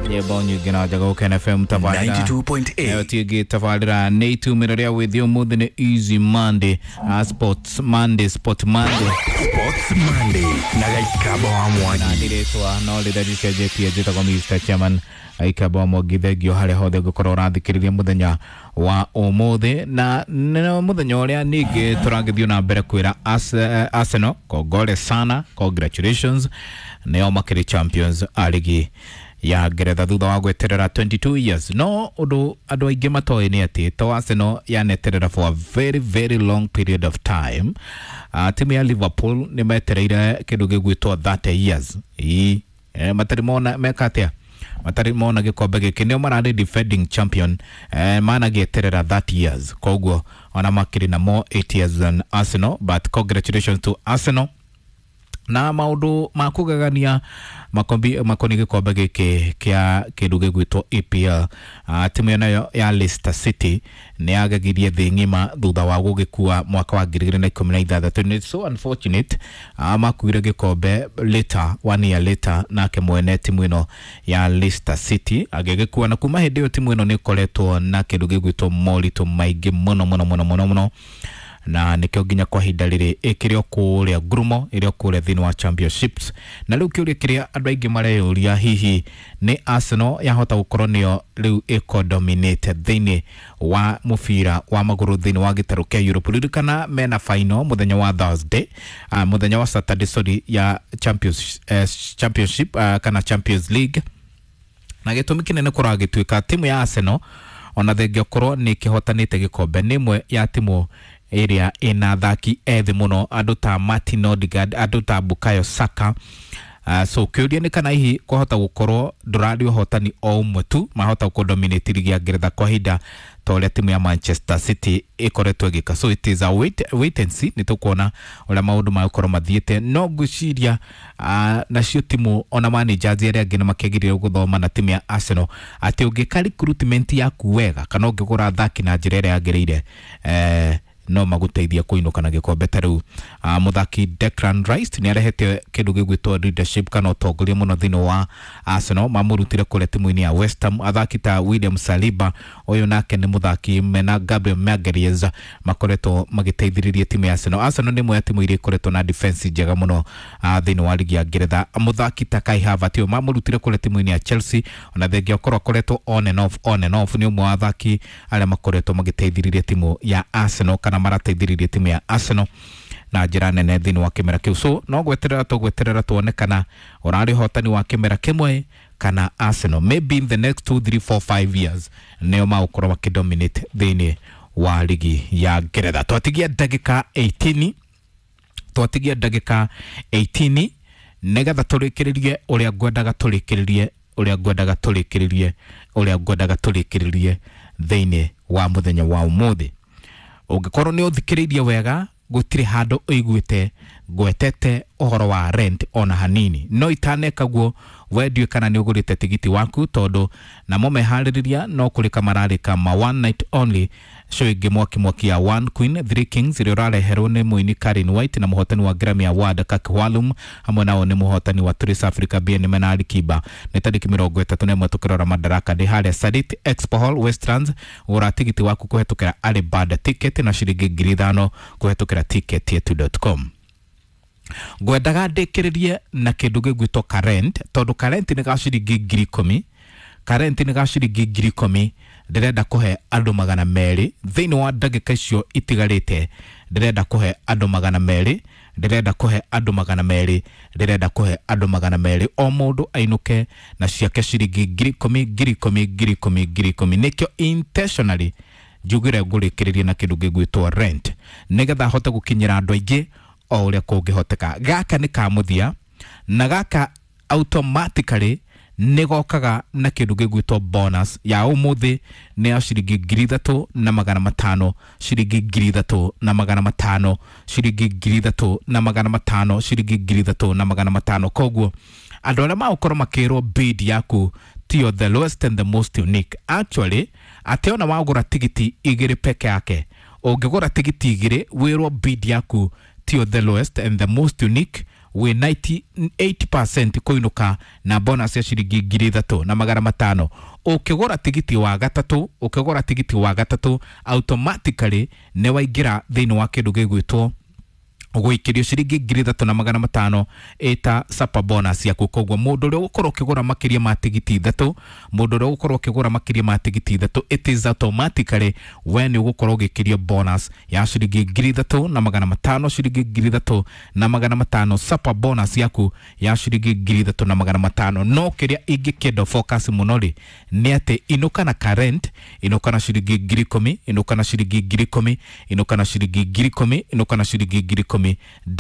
Nyĩmbo nyingĩ na njaga Gũkena FM tabarĩra 92.8. Nayo tingĩ tabarĩra nĩ itumĩro rĩa wĩthĩ ũmũthĩ nĩ Easy Monday, Sports Monday, Sport Monday. Sports Monday na Gaikaba wa Mwangi. Na ndirĩtwa no rĩrĩa ricenjetie, njĩtagwo Mr Chairman Aikamba wa Mwangi. Thengio harĩa hothe ngũkorwo ũrathikĩrĩria mũthenya wa ũmũthĩ, na nĩ mũthenya ũrĩa ningĩ tũragĩthiĩ na mbere kwĩra Arsenal kongole sana, congratulations, nĩo makĩrĩ champions a ligi ya Ngeretha thutha wa gweterera 22 years. No ũndũ andũ aingĩ matoĩ nĩ atĩ to Arsenal yaneterera for a very very long period of time, timu ya Liverpool nĩ metereire kĩndũ gĩgwĩtwo 30 years. Ii, matarĩ mona meka atĩa, matarĩ mona gĩkombe gĩkĩ, nĩo mararĩ defending champion, managĩeterera 30 years, koguo ona makĩrĩ na more 8 years than Arsenal. But congratulations to Arsenal. Na maundu ma kugegania makombi makoni gikombe giki kia kindu gigwitwo EPL, timu ĩyo nayo ya Leicester City nĩ yagegirie thĩ ng'ima thutha wa gũgĩkua mwaka wa 2016. Nĩ so unfortunate, makuire gĩkombe later, one year later, nake mwene timu ĩno ya Leicester City agĩgĩkua, na kuma hĩndĩ ĩyo timu ĩno nĩ ĩkoretwo na kĩndũ gĩgwĩtwo moritũ maingĩ mũno mũno mũno mũno mũno, na nĩkĩo nginya kwa ihinda rĩrĩ ĩkĩrĩ o kũrĩa ngurumo, ĩrĩ o kũrĩa thĩinĩ wa championships. Na rĩu kĩũria kĩrĩa andũ aingĩ mareyũria, hihi nĩ Arsenal yahota gũkorwo nĩyo rĩu ĩko-dominate thĩinĩ wa mũbira wa magũrũ thĩinĩ wa gĩtarũ kĩa Europe? Ririkana mena final mũthenya wa Thursday, mũthenya wa Saturday, sorry, ya championship, kana Champions League. Na gĩtũmi kĩnene kũragĩtuĩka timu ya Arsenal, ona thengia ũkorwo nĩ ĩkĩhotanĩte gĩkombe, nĩ ĩmwe ya timu ĩrĩa ĩna athaki ethĩ mũno, andũ ta Martin Odegaard, andũ ta Bukayo Saka. So kĩũria nĩ kana hihi kwahota gũkorwo ndũrarĩ ũhotani o ũmwe tu mahota gũkũ-dominate ligi ya Ngeretha kwa ihinda ta ũrĩa timu ya Manchester City ĩkoretwo ĩgĩka. So it is a wait and see, nĩ tũkuona ũrĩa maũndũ magũkorwo mathiĩte. No ngwĩciria nacio timu ona managers arĩa angĩ nĩ makĩagĩrĩire gũthoma na timu ya Arsenal atĩ ũngĩka recruitment yaku wega kana ũngĩgũra athaki na njĩra ĩrĩa yagĩrĩire, no magũteithia kũinũka na gĩkombe. Ta rĩu mũthaki Declan Rice nĩ arehete kĩndũ gĩgwĩtwo leadership kana ũtongoria mũno thĩinĩ wa Arsenal, mamũrutire kũrĩa timu-inĩ ya West Ham. Athaki ta William Saliba, ũyũ nake nĩ mũthaki mena Gabriel Magalhaes makoretwo magĩteithĩrĩria timu ya Arsenal. Arsenal nĩ ĩmwe ya timu iria ikoretwo na defense njega mũno thĩinĩ wa ligi ya Ngeretha. Mũthaki ta Kai Havertz, ũyũ mamũrutire kũrĩa timu-inĩ ya Chelsea, ona thengia ũkorwo akoretwo on and off, on and off, nĩ ũmwe wa athaki arĩa makoretwo magĩteithĩrĩria timu ya Arsenal kana marateithĩrĩria timu ya Arsenal na njĩra nene thĩinĩ wa kĩmera kĩu. So no gweterera tũgweterera tuone kana ũrarĩ ũhotani wa kĩmera kĩmwe kana Arsenal maybe in the next 2 3 4 5 years nĩo magũkorwo makĩdominate thĩinĩ wa ligi ya Ngeretha. Twatigia ndagĩka 18, twatigia ndagĩka 18 nĩgetha tũrĩkĩrĩrie ũrĩa ngwendaga tũrĩkĩrĩrie, ũrĩa ngwendaga tũrĩkĩrĩrie, ũrĩa ngwendaga tũrĩkĩrĩrie thĩinĩ wa mũthenya wa ũmũthĩ. Ũngĩkorwo nĩ ũthikĩrĩirie wega, gũtirĩ handũ ũiguĩte ngwetete ũhoro wa rent ona hanini. No itaneka guo, we ndiũĩ kana nĩ ũgũrĩte tigiti waku, tondũ namo meharĩrĩria no kũrĩka mararĩka ma one night only show ĩngĩ mwaki mwaki ya One Queen Three Kings ĩrĩa ũrareherwo nĩ mũini Karen White na mũhotani wa Grammy Award Kaki Walum, hamwe nao nĩ mũhotani wa Trace Africa BN mena Ali Kiba. Nĩ tarĩki 31 tũkĩrora Madaraka Day harĩa Sarit Expo Hall, Westlands. Gũra tigiti waku kũhetũkĩra Alibaba ticket na ciringi 5,000 kũhetũkĩra ticketyetu.com. Ngwendaga ndĩkĩrĩrie na kĩndũ gĩgwĩtwo current, tondũ current nĩ ga ciringi 10,000, current nĩ ga ciringi 10,000. Ndĩrenda kũhe andũ 200 thĩinĩ wa ndagĩka icio itigarĩte. Ndĩrenda kũhe andũ 200, ndĩrenda kũhe andũ 200, ndĩrenda kũhe andũ 200, o mũndũ ainũke na ciake ciringi 10,000, 10,000, 10,000, 10,000. Nĩkĩo intentionally njugire ngũrĩkĩrĩrie na kĩndũ gĩgwĩtwo rent, nĩgetha hote gũkinyĩra andũ aingĩ o ũrĩa kũngĩhoteka. Gaka nĩ ka mũthia, na gaka automatically nĩ gokaga na kĩndũ gĩgwĩtwo bonus ya ũmũthĩ nĩ ya ciringi 3,500, ciringi 3,500, ciringi 3,500, ciringi 3,500. Koguo andũ arĩa magũkorwo makĩrwo bid yaku tiyo the lowest and the most unique, actually atĩ ona wagũra tigiti igĩrĩ peke yake, ũngĩgũra tigiti igĩrĩ wĩrwo bid yaku tiyo the lowest and the most unique, Wĩ 98% kũinũka na bonus ya ciringi 3500. Ũkĩgũra tigiti wa gatatũ, ũkĩgũra tigiti wa gatatũ, automatically nĩ waingĩra thĩinĩ wa kĩndũ gĩgwĩtwo gũikĩrio ciringi 3500 ĩta super bonus yaku. Koguo mũndũ ũrĩa ũgũkorwo ũkĩgũra makĩria ma tigiti ithatũ, mũndũ ũrĩa ũgũkorwo ũkĩgũra makĩria ma tigiti ithatũ, it is automatically we nĩ ũgũkorwo ũgĩkĩrio bonus ya ciringi 3500, ciringi 3500, super bonus yaku ya ciringi 3500. No kĩrĩa ingĩkĩenda focus mũno rĩ, nĩ atĩ inũka na current, inũka na ciringi 10,000, inũka na ciringi 10,000, inũka na ciringi 10,000, inũka na ciringi 10,000.